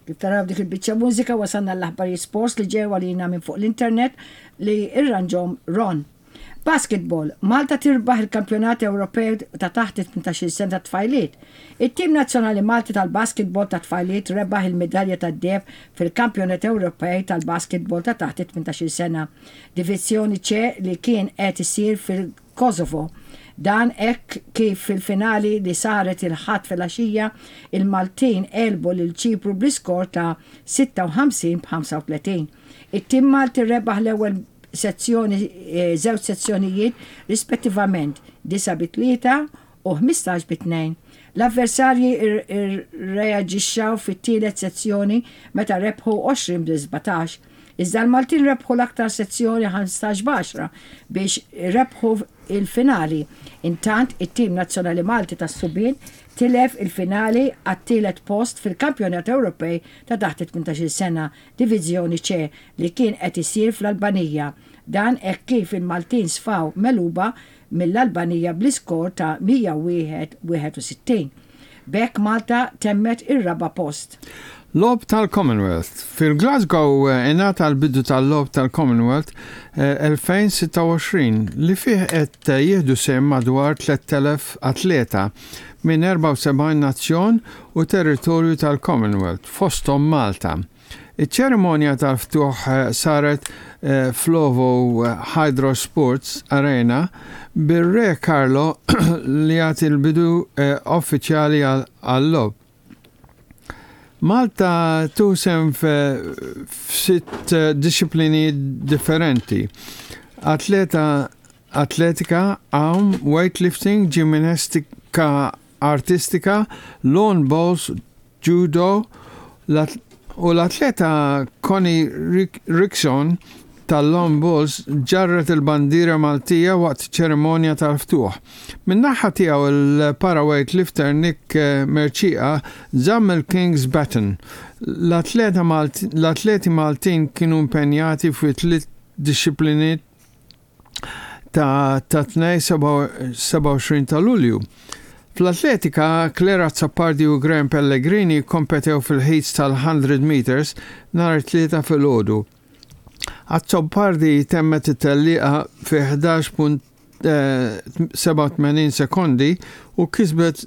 Kif taraw dik il-biċċa mużika wasalna l-aħbarijiet sports li ġew għalina minn fuq l-internet li irranġhom Ron. Basketball, Malta tirbaħ il-Kampjonat Ewropew ta' taħt it-18-il sena tat-tfajliet. It-tim nazzjonali Malti tal-basketball tat-tfajliet rebaħ il-midalja tad-deheb fil-Kampjonat Ewropej tal-basketball ta' taħt it-18-il sena, Divizzjoni C li kien qed isir fil-Kosovo. Dan hekk kif fil-finali li saret il-Ħadd filgħaxija, il-Maltin għelbu lil Ċipru bl-iskor ta' 56 b'35. It-tim Malti rebaħ l-ewwel sezzjoni żewġ sezzjonijiet rispettivament 9 bi 3 u 15 bi 2. L-avversarji rreaġixxaw fit-tielet sezzjoni meta rebħu 20 bi 17. Iżda l-Maltin rebħu l-aktar sezzjoni 15 b'għaxra biex rebħu il-finali. Intant, it-tim nazzjonali Malti tas-subien tilef il-finali għat-tielet post fil-Kampjonat Ewropej ta' taħt it-18-il sena Diviżjoni C li kien qed isir fl-Albanija. Dan hekk kif il-Maltin sfaw megħluba mill-Albanija bl-iskor ta' 101, 61. B'hekk Malta temmet ir-raba' post. Logħob tal-Commonwealth. Fil-Glasgow ingħata l-bidu tal-Logħob tal-Commonwealth 2026 li fih qed jieħdu sehem madwar 3,000 atleta minn 74 nazzjon u territorju tal-Commonwealth, fosthom Malta. Iċ-ċerimonja tal-ftuħ saret fl-OVO Hydro Sports Arena bir-Re Carlo li jagħti l-bidu uffiċjali għal-logħob. Malta tieħu sehem f'sitt dixxiplini differenti, atleta atletika, għawm, weightlifting, ġimnastika artistika, lawn bowls, judo, u l-atleta Connie Rickson tal-lawn bowls ġarret il-bandiera Maltija waqt ċerimonja tal-ftuħ. Min-naħa tiegħu il-para-weightlifter Nick Mercieca żamm il-King's Baton. L-atleti Maltin kienu impenjati fi tliet dixxiplini ta' tat-Tnejn 27 ta' Lulju. Fl-atletika, Claire Azzopardi u Graham Pellegrini kkompetew fil-heats tal-100 metres nhar it-Tlieta filgħodu. Azzopardi temmet it-tellieqa fi 11.87 sekondi u kisbet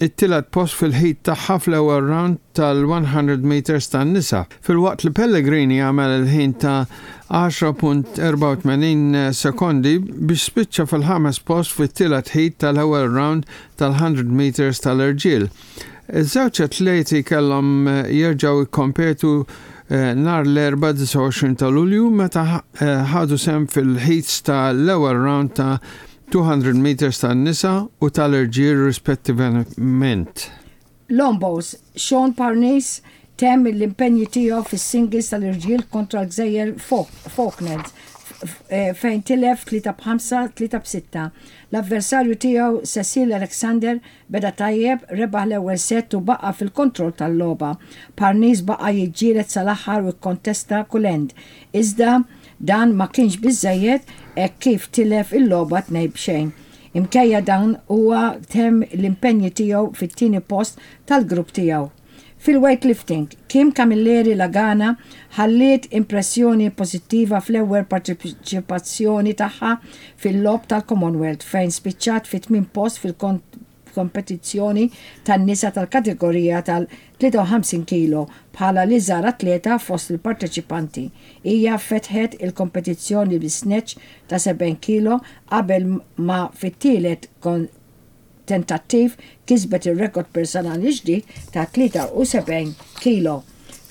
it-tielet post fil-heat tagħha fl-ewwel round tal-100 metres tan-nisa, filwaqt li Pellegrini għamel il-ħin ta' 10.84 sekondi biex spiċċa fil-ħames post fit-tielet heat tal-ewwel round tal-100 metres tal-irġiel. Iż-żewġ atleti kellhom jerġgħu jikkompetu nhar l-Erbgħa 29 ta' Lulju meta ħadu sehem fil-heats tal-ewwel round ta' 200 metres tan-nisa u tal-irġiel rispettivament. Lombos, Shaun Parnis temm l-impenji tiegħu fis-singles tal-irġiel kontra l-Gżejjer Falklands fejn tilef 3 b'5, 3 b'6. L-avversarju tiegħu Cecil Alexander beda tajjeb, rebaħ l-ewwel set u baqa' fil-kontroll tal-logħba. Parnis baqa' jiġġieled sal-aħħar u kkontesta kull end. Iżda Dan ma kienx biżżejjed hekk kif tilef il-logħba tnejn b'xejn. Imkejja dan huwa temm l-impenji tiegħu fit-tieni post tal-grupp tiegħu. Fil-weightlifting, Kim Camilleri Lagana ħalliet impressjoni pożittiva fl-ewwel parteċipazzjoni tagħha fil-Logħob tal-Commonwealth fejn spiċċat fit-tmien post fil-kompetizzjoni tan-nisa tal-kategorija tal 53 kilo bħala l-iżgħar atleta fost il-parteċipanti. Hija fetħet il-kompetizzjoni bi snatch ta' 70 kilo qabel ma fit-tielet tentattiv kisbet ir-rekord personali ġdid ta' 73 kilo.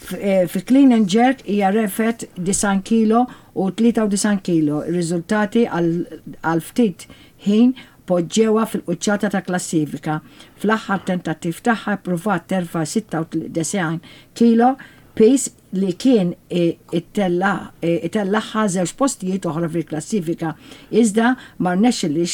Fi clean and jerk hija refgħet 90 kilo u 93 kilo, ir-riżultati għal ftit ħin poġġewha fil-quċċata tal-klassifika. Fl-aħħar tentattiv tagħha ppruvat terfa' 96 kilo, piż li kien itellagħha żewġ postijiet oħra fil-klassifika, iżda ma rnexxilhiex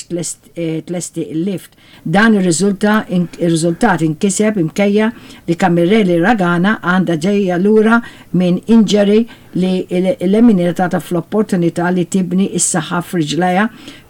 tlesti l-lift. Dan ir-riżultat inkiseb imkejja li Camilleri Ragana għandha ġejja lura minn injury li eliminatha fl-opportunità li tibni s-saħħa f'riġlejha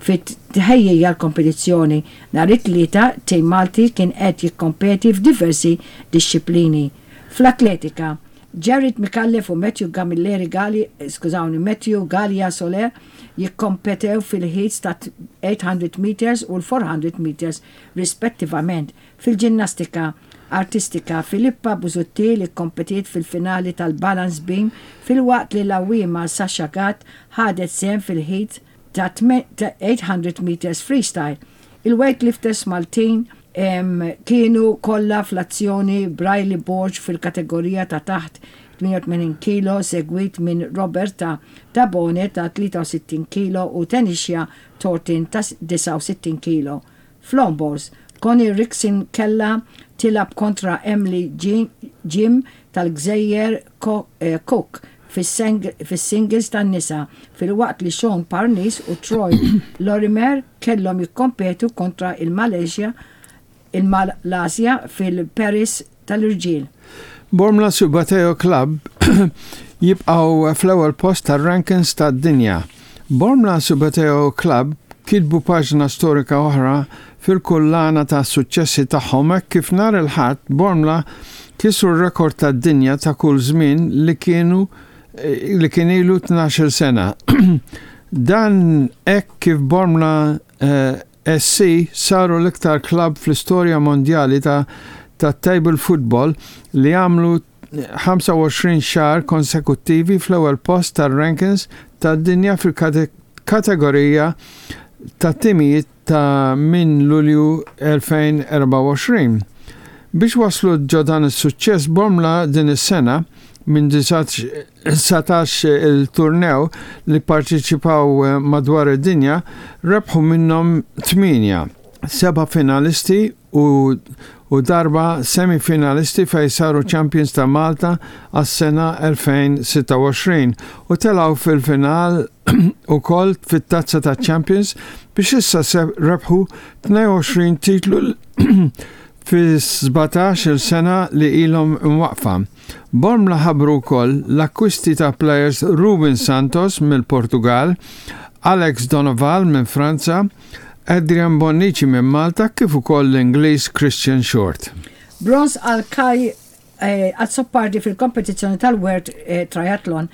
Fit-tħejjija għall-kompetizzjoni, nhar it-Tlieta, tim Malti kien qed jikkompeti f'diversi dixxiplini. Fl-atletika, Jared Micallef u Matthew Gamilleri Gali, skużawni, Matthew Galea Soler jikkompetew fil-heats ta' 800 meters u l-400 meters rispettivament. Fil-ġinnastika artistika, Filippa Busuttil ikkompetiet fil-finali tal-balance beam filwaqt li l-għawwiema Sasha Gatt ħadet sehem fil-heat ta' 800 meters freestyle. Il-weightlifters Maltin kienu kollha fl-azzjoni b'Riley Borg fil-kategorija ta' taħt 88 kilo segwit minn Roberta Tabone ta' 63 kilo u Tenishia Thornton ta' 69 kilo. Fl-onboards, Connie Rixon kellha tilgħab kontra Emily Jim tal-Gżejjer Cook fis-singles tan-nisa filwaqt li Shaun Parnis u Troy Lorimer kellhom jikkompetu kontra il-Malaysia il-Malasja fil-Paris tal-irġiel. Bormla Subbuteo Club jibqgħu fl-ewwel post tar-rankings tad-dinja. Bormla Subbuteo Club kitbu paġna storika oħra fil-kullana ta' suċċessi tagħhom hekk kif nhar il-Ħadd Bormla kisru r-rekord tad-dinja ta' kull żmien li kienu li kien ilu 12-il sena. Dan hekk kif Bormla SC saru l-iktar klabb fl-istorja mondjali ta' tat-table football li għamlu 25 xahar konsekuttivi fl-ewwel post tar-rankings tad-dinja fil-kategorija tat-timijiet ta' minn Lulju 2024. Biex waslu ġo dan is-suċċess Bormla din is-sena minn 19 il-turnew li pparteċipaw madwar id-dinja rebħu minnhom tmienja, seba' finalisti u u darba semi-finalisti fejn saru champions ta' Malta għas-sena 2026 u telgħu fil-final ukoll fit-Tazza taċ-Champions biex issa rebħu 22 titlu fis-17-il sena li ilhom imwaqqfa. Bormla ħabbru wkoll l-akkwisti ta' plejers Ruben Santos mill-Portugall, Alex Donoval minn Franza, Adrian Bonnici minn Malta kif ukoll l-Ingliż Christian Short. Bronż għal Kai Azzopardi fil-kompetizzjoni tal-World Triathlon.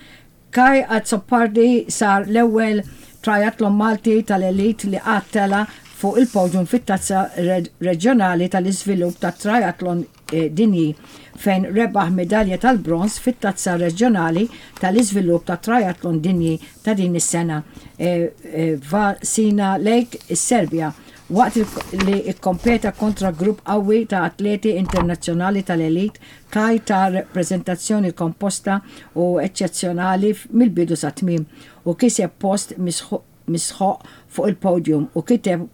Kai Azzopardi sar l-ewwel triathlon Malti tal-elite li qatt tela' fuq il-podium fit-Tazza Reġjonali tal-Iżvilupp tat-Triathlon Dinji fejn rebaħ midalja tal-bronż fit-Tazza Reġjonali tal-Iżvilupp tat-Triathlon Dinji ta' din is-sena f'Vasina Lake, is-Serbja, waqt li kkompeta kontra grupp qawwi ta' atleti internazzjonali tal-elite Kai ta preżentazzjoni komposta u eċċezzjonali mill-bidu sat-tmiem u kiseb post misħoq fuq il-podium u kiteb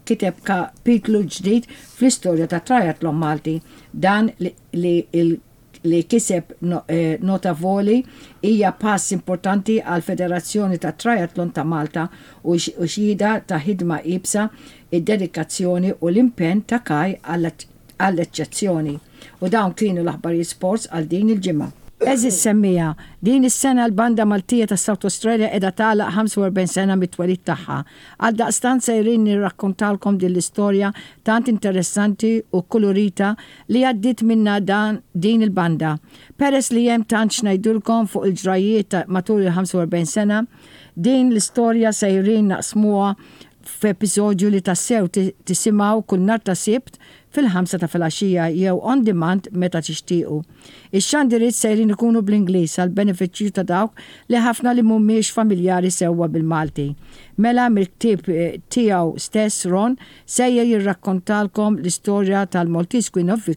kiteb kapitlu ġdid fl-istorja tat-triathlon Malti. Dan li li kiseb notavoli hija pass importanti għall-Federazzjoni tat-Triathlon ta' Malta u xhieda ta' ħidma iebsa, id-dedikazzjoni u l-impenn ta' Kai għall-eċċezzjoni. U dawn kienu l-aħbarijiet sports għal din il-ġimgħa. Għeżież semmiegħa, din is-sena l-Banda Maltija ta' South Australia qiegħda tagħlaq 45 sena mit-twelid tagħha. Għaldaqstant sejrin nirrakkontalkom din l-istorja tant interessanti u kkulurita li għaddiet minnha dan din il-banda. Peress li hemm tant x'ngħidulkom fuq il-ġrajjiet ta' matul il-45 sena, din l-istorja sejrin naqsmuha f'episodju li tassew tisimgħu kull nhar ta' Sibt fil-ħamsa ta' filgħaxija jew on demand meta tixtiequ. Ix-xandiriet sejrin ikunu bl-Ingliż għall-benefiċċju ta' dawk li ħafna li mhumiex familjari sewwa bil-Malti. Mela mill-ktieb tiegħu stess Ron sejjer jirrakkontalkom l-istorja tal-Maltese Queen of Victory.